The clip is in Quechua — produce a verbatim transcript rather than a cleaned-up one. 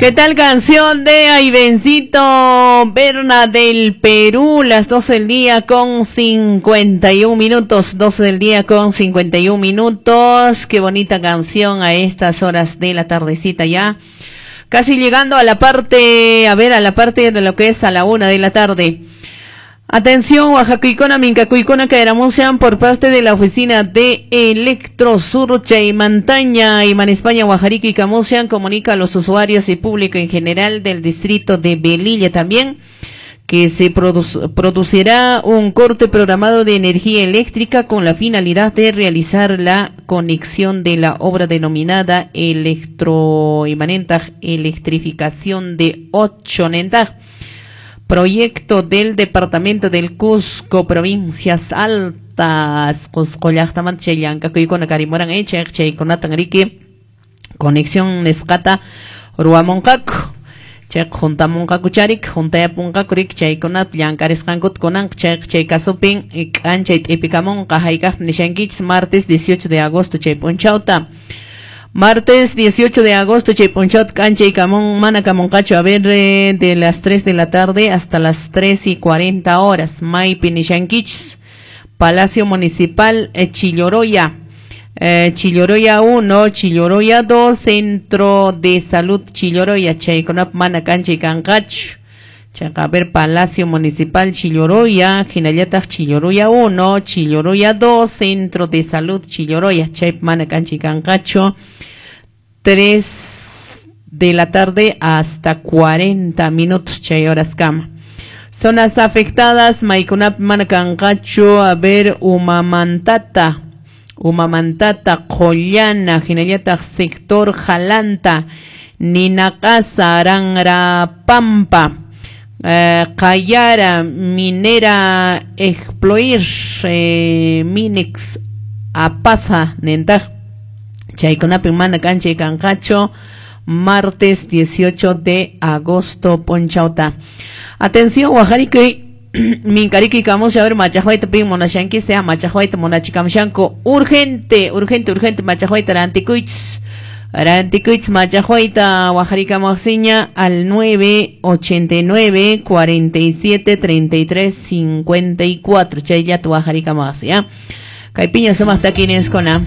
¿Qué tal canción de Aivencito Berna del Perú? Las doce del día con cincuenta y un minutos, doce del día con cincuenta y un minutos. Qué bonita canción a estas horas de la tardecita ya. Casi llegando a la parte, a ver, a la parte de lo que es a la una de la tarde. Atención, Oaxacuicona, Mincacuicona, Caeramusean por parte de la oficina de Electrosur, Chaymantaña y España, Oaxarico y Camusean, comunica a los usuarios y público en general del distrito de Velilla también que se produ- producirá un corte programado de energía eléctrica con la finalidad de realizar la conexión de la obra denominada electroimanentaj, electrificación de ocho nentaj. Proyecto del Departamento del Cusco, Provincias Altas, Cusco llaqtamanta chay llank'akuykuna karimuran echaq chaykunatan riki conexión nisqata ruwamunqaku chayqa juntamunqaku charik juntayapunqaku riki chaykunata llank'arisqankuta kunanqa chayqa chay kasupin k'anchay t'ipikamunqa hayk'aqta nishankichis martes dieciocho de agosto chay p'unchawta. Martes dieciocho de agosto, Chaypunchot, Cancha y Camón, Mana Camoncacho, a ver, eh, de las tres de la tarde hasta las tres y cuarenta horas. Maypi nishankichis, Palacio Municipal, eh, Chilloroya, eh, Chilloroya uno, Chilloroya dos, Centro de Salud Chilloroya, Chayconap, Mana Cancha y Cancacho. Chaca, a ver, Palacio Municipal Chilloroya, Jinayatag Chilloroya uno, Chilloroya dos, Centro de Salud Chilloroya, Chayp, Mana Cancha y Cancacho. tres de la tarde hasta cuarenta minutos, chay horas cama. Zonas afectadas, Maikunap, Manacancacho, a ver, Humamantata, Humamantata, Collana, Jinayata, Sector Jalanta, Ninacasa, Arangra, Pampa, eh, Cayara, Minera, Exploir, eh, Minex, Apaza, Nentaj, Chaykunapi mana cancha y cancacho, martes dieciocho de agosto, Ponchauta. Atención, Oaxarico y Mincarico y Camus, a ver, Machajuaita, Pin, Monashanqui, sea Machajuaita, Monachicamshanco, urgente, urgente, urgente, Machajuaita, Ranticuich, Ranticuich, Machajuaita, Oaxarica, Moxiña, al nueve ochenta y nueve, cuarenta y siete, treinta y tres, cincuenta y cuatro, Chayat, Oaxarica, Moxia. Caipiña, somos taquines con A.